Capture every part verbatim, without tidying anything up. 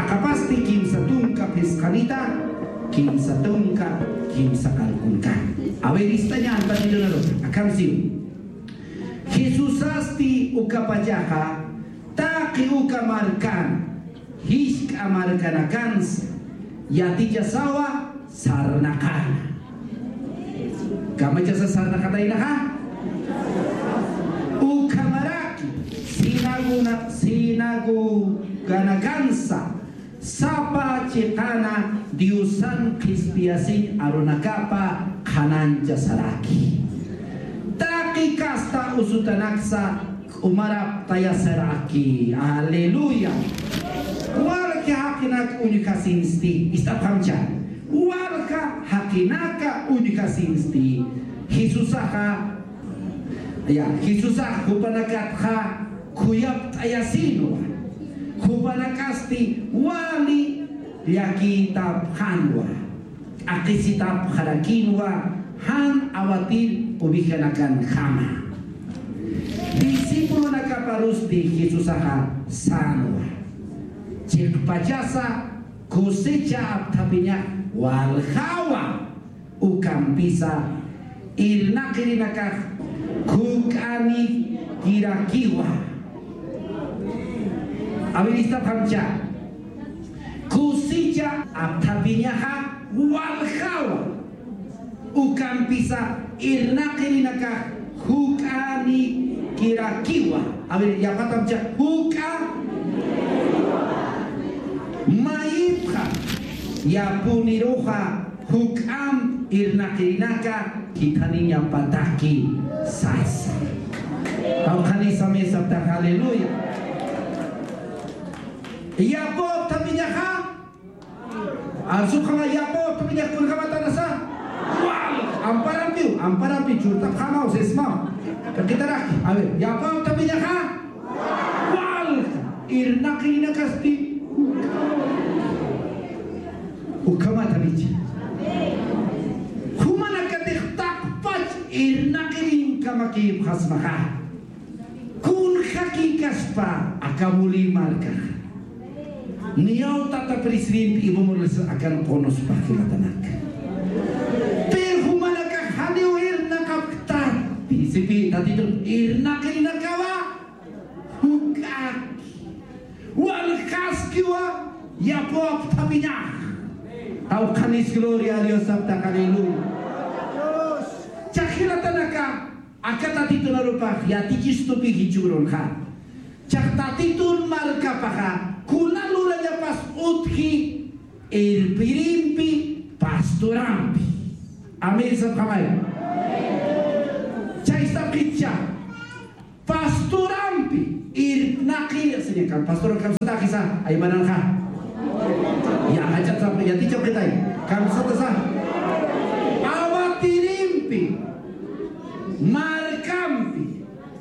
Qapasti kimsa tunka phisqanita, kimsa tunka, kimsa qallqunka. A ver, istañan, tatitunaru, akham siw. Jesusasti ukapachaxa, taqi uka markan, jisk'a markanakansa, yatichasawa sarnaqana. Kamachasa sarnaqataynaxa. Ukhamaraki sinaguna-, sinagoganakansa sapa chiqana Diosan qhispiyasiñ arunakapa qhananchasaraki. Taqi kasta usutanaksa k'umaraptayasaraki. Aleluya. Walja jaqinak uñjasinsti, ist'apxamcha. Walja jaqinaka uñjasinsti. Jesusaxa, ya, Jesusax jupanakatxa khuyapt'ayasinwa. Jupanakasti wali llakitapxanwa. T'aqhisitapxarakinwa jan awatir ovejanakankama. Discipulonakaparusti Jesusaxa sänwa. Chiqpachasa cosecha apthapiñax waljawa, ukampisa irnaqirinakax juk'anikirakiwa. A ver, ist'apxamcha. Cosecha apthapiñaxa waljawa, ukampisa irnaqirinakax juk'anikirakiwa. A ver, yapatamcha, juk'a. Mayipxa yapuniruxa juk'amp irnaqirinaka jithaniñapataki sasa. Awqhanisa mesa aptax, aleluya. Yapaw apthapiñaxa. Arsupxama, yapaw apthapiñax kunjamatanasa. Wal, amparampiw, amparampi churtapxama, o sea, sismam. Kaqitaraki. A ver, yapaw apthapiñaxa. Wal, irnaqirinakasti. Ukhamatanicha. Jumanakatix taqpach irnaqirinkamakiw jasmaxa. Kunjakikaspa aka Mulï markax. Niyaw tata presidente Evo Morales akan qunuspa jilatanak. Pero jumanakax janiw irnaqapkta. Principi Tatitun irnaqirinakawa juk'aki. Waljaskiwa yapaw apthapiñax. Awqhanis gloria a Dios aptax, aleluya. Chax jilatanaka, aka Tatitun arupax yatichistupi jichhürunxa. Chax Tatitun markapaxa kuna lurañapas utji irpirimpi, pastorampi. Amén sapxamay. Chaystapxicha. Pastorampi irnaqiri, siña, kan pastor kamsataxisa, aymananxa. Ya, jach'at sapxi, yatichapxitay. Kamsatasa. Awatirimpi, markampi,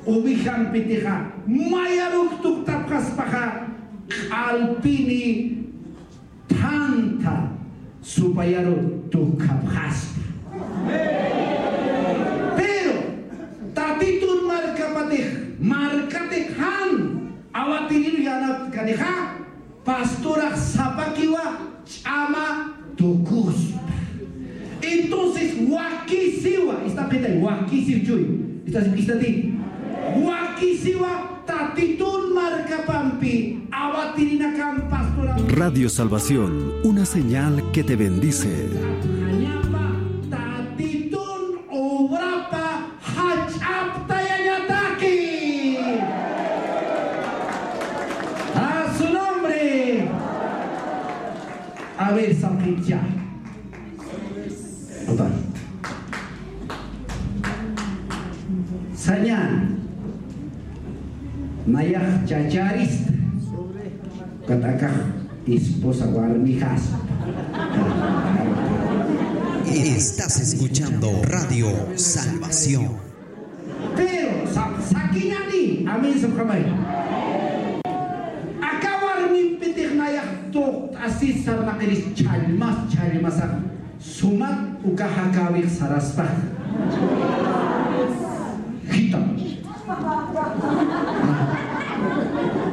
ovejampitixa, mayaruk tuktapxaspaxa, q'alpini thantha supayaru tukhapxaspa. Pero Tatitun markapatix, markatix jan awatirir yanaptkanixa, pastorax sapakiwa ch'ama tukuspa. Entonces, wakisiwa, ist'apxitay, wakisiw chuy, ist'apxitati, wakisiwa Tatitun markapampi awatirinakan pastoram. Radio Salvación, una señal que te bendice. Tatitun obrapa jach'aptayañataki. A su nombre. A ver, sapxicha. Saña, nayax chacharista, ukat akax esposa warmixaspa. Estás escuchando Radio Salvación. Pero sa-, sakiñani, amén sapxamay. Aka warmimpitix nayax tuqt'asis sarnaqiris chhallmas, chhallmasax sumat uka jakäwix saraspa. Jitam.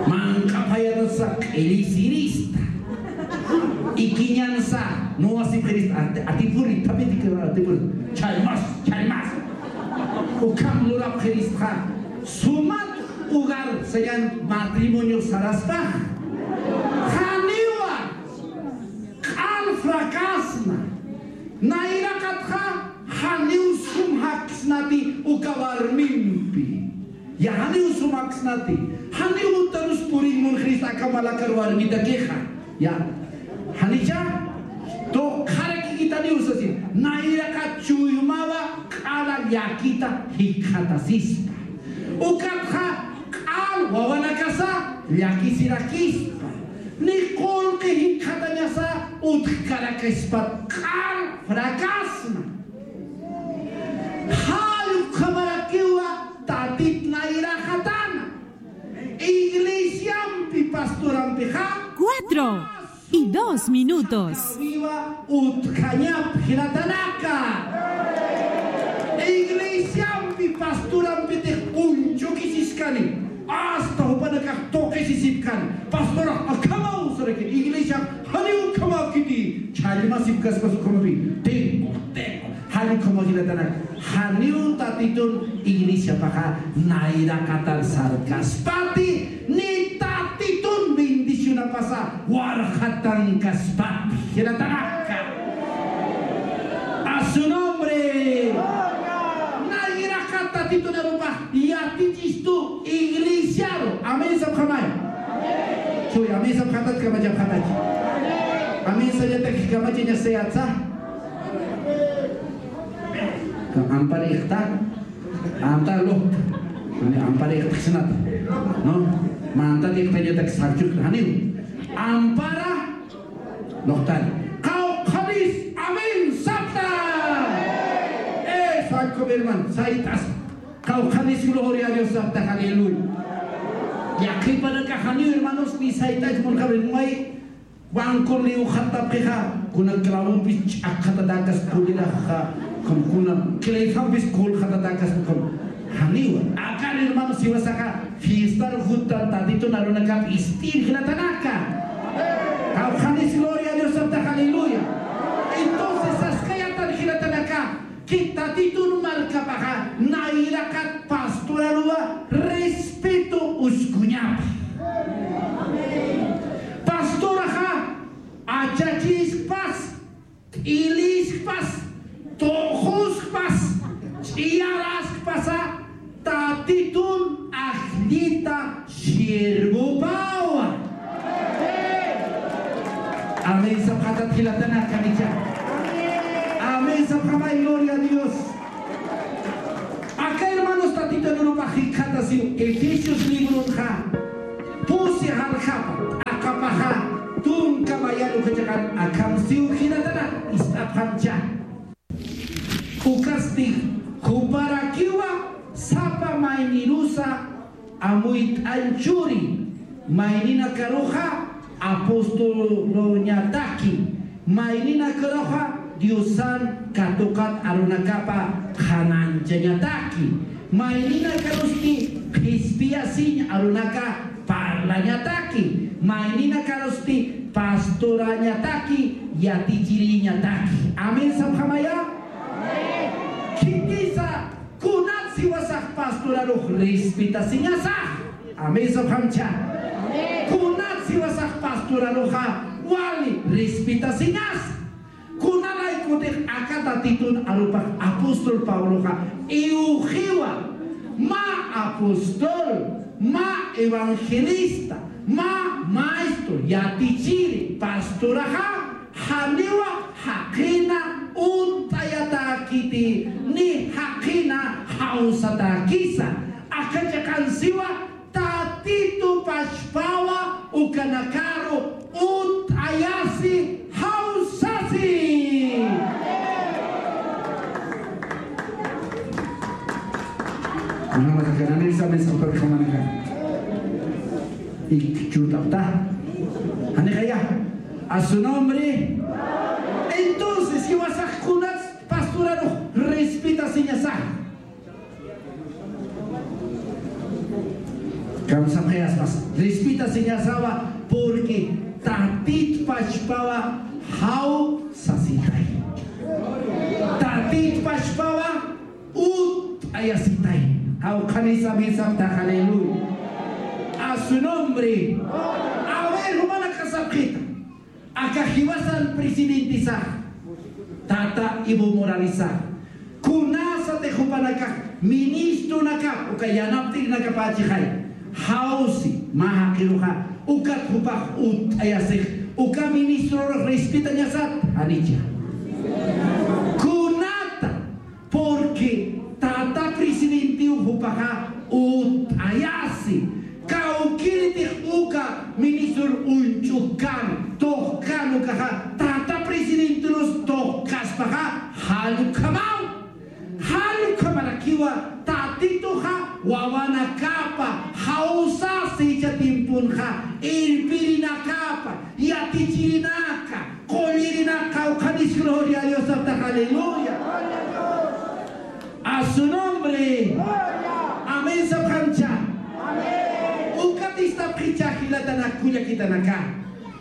Manq'apayatasa q'irisirista. Ikiñansa, no asipxirist, ati-, atipuri, tapiti, atipuri, chaymas, chaymas. Ukham lurapxiristxa, sumat hogar sayan matrimonio saraspax. Janiwa, q'al fracasna. Nayraqatxa, janiw sum jaksnati uka warmimpi. Ya, janiw sum jaksnati. Janiw utarus purin munxirist aka malakar warmitakixa. Ya. Janicha, tuqharakikitaniw sasin. Nayraqat chuymawa q'ala llakita jikxatasispa. Ukatxa q'al wawanakasa llakisirakispa. Ni qullqi jikxatañasa utjkarakispat q'al fracasna. Jall ukhamarakiwa Tatit nayraqatana. Iglesiampi, pastorampixa. Cuatro y dos minutos. Utjañap jilatanaka. Iglesiampi, pastorampitix uñchukisiskani. Hasta jupanakax tuqisisipkani. Pastorax akhamaw saraki. Iglesiax janiw ukhamäkiti. Challmasipkaspas ukhamapi. Tengo, tengo. Jall ukhamaw jilatanaka. Janiw Tatitun iglesiapaxa nayraqatar sarkaspati, ni Tatitun bendicionapasa warxatankaspati. Jilatanaka. A su nombre. Nayraqat Tatitun arupax yatichistu iglesiaru. Amén sapxamay. Chuy, amén sapxatat kamachapxatach. Amén sañatak kamachañasayatsa. Ampara iqta, ampara luqta. Ampara iqta xnata. ¿No? Manta iqtañatak sarchuk janiw. Ampara luqtari. Qawqhanis amén sapta. Eh, santo hermano, sayt'as. Qawqhanis gloria a Dios sapta, aleluya. Yaqhipanaka janiw hermanos, ni sayt'as munxarin may. Banco liwxatapxixa, kuna clavompis ch'aqxatatakas pudiraxa, kuna clefampis kulxatatakas, janiwa. Akan hermano siwasaxa, fiestar juttan Tatitun arunakap ispir jilatanaka. Qawqhanis gloria a Dios sapta, aleluya. Entonces, saskayatan jilatanaka, que Tatitun markapaxa nayraqat pastoraruwa respeto uskuñapa. Pastoraxa achachiskpas, t'iliskpas, tuxuskpas, ch'iyaraskpasa, Tatitun ajllita siervopawa. Amén sapxatat jilatanaka, kanicha. Amén sapxamay, gloria a Dios. Aka hermanos Tatitun arupax jikxatasiw Efesios librunxa pusi jarjapa t'aqapaxa tunka mayan uka chiqan akham siw jilatanaka ist'apxamcha. Ukasti juparakiwa sapa maynirusa amuyt'añ churi, mayninakaruxa apostoluñataki, mayninakaruxa Diosan katuqat arunakapa qhananchañataki, mayninakarusti qhispiyasiñ arunaka parlañataki, mayninakarusti pastorañataki, yatichiriñataki. Amén sapxamaya. Khitisa, kunat siwasax pastorarux respetasiñasax. Amén sapxamcha. Kunat siwasax pastoraruxa wali respetasiñas. Kunalaykutix aka Tatitun arupax apóstol Pabloxa iwxiwa, mä apóstol, mä evangelista, mä maestro, yatichiri, pastoraxa, janiwa jaqina unt'ayatäkiti, ni jaqina jawsatäkisa. Aka chiqan siwa, Tatitu pachpawa ukanakaru unt'ayasi jawsasi. Kunjamasa kananirisa, amén sapxamanaka. Ikchutapta. Janixaya. A su nombre. Entonces, iwasax kunats pastorarux respetasiñasax. Kamsapxayaspas. Respetasiñasawa, Porque Tatit pachpawa jaw sasitay. Tatit pachpawa utt'ayasitay. Jawqhanis amén sapxta, aleluya. A su nombre. A ver, jumanakax sapxita. Aka jiwasan presidentisax, tata Evo Moralesax, kunasatix jupanakax ministronakap uka yanapt'irnakapächixay, jawsi mä jaqiruxa, ukat jupax utt'ayasix, uka ministrorux respetañasat, janicha. Kunata, porque tata presidentiw jupaxa utt'ayasi. Kawkïritix uka ministror uñch'ukkan, tuqkan ukaxa, tata presidenterus tuqkaspaxa, jall ukhamaw. Jall ukhamarakiwa Tatituxa wawanakapa jawsasi jichha tiemponxa, irpirinakapa, yatichirinaka, qullirinaka, jawqhanis gloria a Dios sapxta, aleluya. A su nombre. Amén sapxamcha. Ukat istapxicha jilatanak kullakitanaka.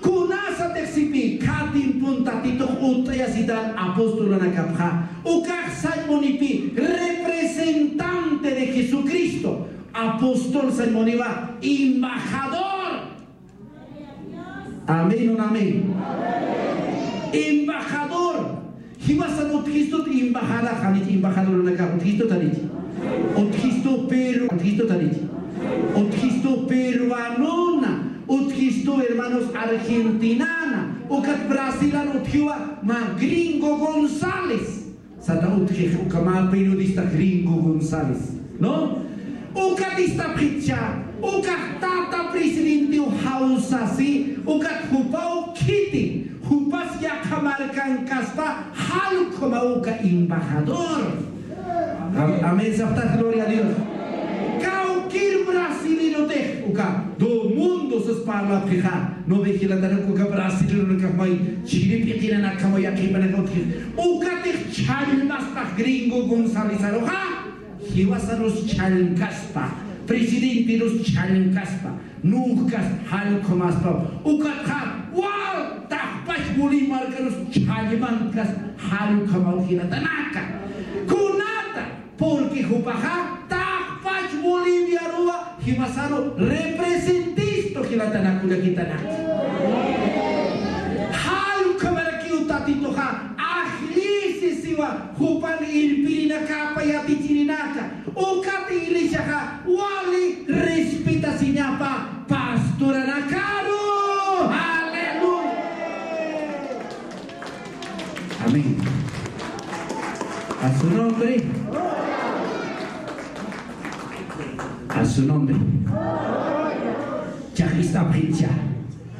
Kunasatix sipï, khä tiempon Tatitux utt'ayasitan apostolunakapxa, ukax sañ munipï representante de Jesucristo. Apóstol sañ muniwa embajador. Amén, un amén. Embajador. Jiwasan utjistut embajada, janich embajadorunakax utjistut, janich. Utjistu Perú, utjistut, janich. Utjistu peruanona, utjistu hermanos argentinana, ukat Brasilan utjiwa mä Gringo González. Sata utjix uka mä periodista Gringo González, ¿no? Ukat istapxicha, ukax tata presidentiw jawsasi, ukat jupaw khiti, jupas yaqha markankaspa, jall ukhamaw uka embajador. Am-, amén, sapxta, gloria a Dios. Kawkïr brasilerotix, uka, do mundo sas parlapxixa, no ve jilatanak uka brasileronakax may, chiri p'iqinanakaw yaqhipanakaw utji. Ukatix chhallmaspax Gringo Gonzalezaruxa, jiwasarus chhallmkaspa, presidenterus chhallmkaspa, nuqkas jall ukhamaspaw. Ukatxa, wal, taqpach Bolivia markarus chhallmkaspa, jall ukhamaw jilatanaka. Kunata, porque jupaxa taqpach Boliviaruwa jiwasaru representistu jilatanak kullakitanaka. Jall ukhamarakiw Tatituxa ajllisi siwa jupan irpirinakapa yatichirinaka. Ukat iglesiaxa wali respetasiñapa pastoranakaru. Aleluya. Amén. A su nombre. A su nombre. Chajistapxicha.